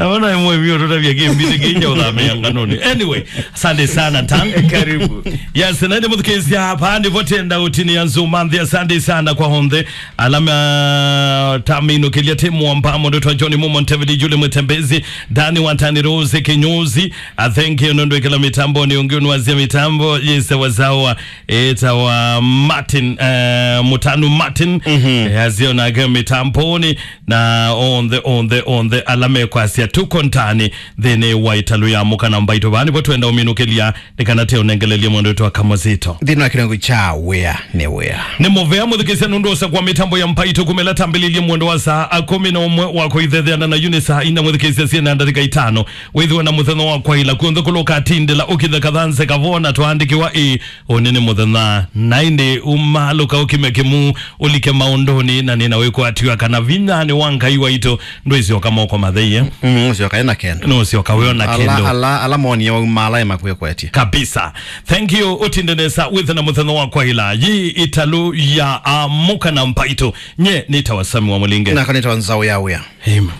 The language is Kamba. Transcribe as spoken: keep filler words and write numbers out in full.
Naona mwe mio tutavya kimbi kinja uthamia nganoni. Anyway, asante sana, Tan. Karibu. Yes, na nĩ mũthukĩĩsya hapa, nĩ votenda ũtini ya Nzuma nthĩ. Asante sana kwa onthe. Alama taminũkĩlya timu wa mpamo, ndotwa John Mumo, Ntevidi Jule Mwetembezi, Dani Watani, Rose Kinyozi. I thank you, nũndũ ĩkĩla mĩtambo nĩ ũngĩ ũnũasya mĩtambo yĩse wazawa. Ĩtawa Martin, eh, Mutanu Martin. Mhm. Eh, azio nake mĩtamboni. Na onthe, onthe, onthe ala mekwasya tuko ntani nthĩnĩ wa ĩtalũ ya Mũka na Mbaitũ. Vaa nĩvo twenda ũminũkĩlya, nĩ kana tĩ ũnengelelye mwendo wetu wa Kamazito. Nthĩnĩ wa kĩlungu kya wĩa nĩ wĩa. Nĩ mũvea mũthukĩĩsya nũndũ ũsa kwa mĩtambo ya Mbaitũ kuma ĩla tambĩlĩlye mwendo wa saa kũmi na ũmwe wa kũithetheana na yu nĩ saa ina mũthukĩĩsya syĩna ndatĩka itano. Wĩthĩwe na mũthenya wa kwaĩla kw'onthe kũla ũkatindĩla ũkithe kathanze kavona twaandĩkĩwa ĩ. Ũnĩ nĩ mũthenya, na ĩndĩ umalũka ũkime kĩmu, ũlike maũndũnĩ, na nĩna wĩkwatw'a kana vinya nĩ wa Ngai waitũ ndwĩsyoka moko mathei. Mm, ũsyoka ena kendo. Nũsyoka wĩona ala kendo. Ala, ala monie wauma ala emakwĩkwetye. Kabisa. Thank you. Ũtinde nesa wĩthe na mũthenya wa kwaĩla. Yi ĩtalũ ya Amũka na Mbaitũ. Nye nĩtawa Sami wa Mũlinge. Naka nĩtawa Nzaũ ya Wĩa. Amen.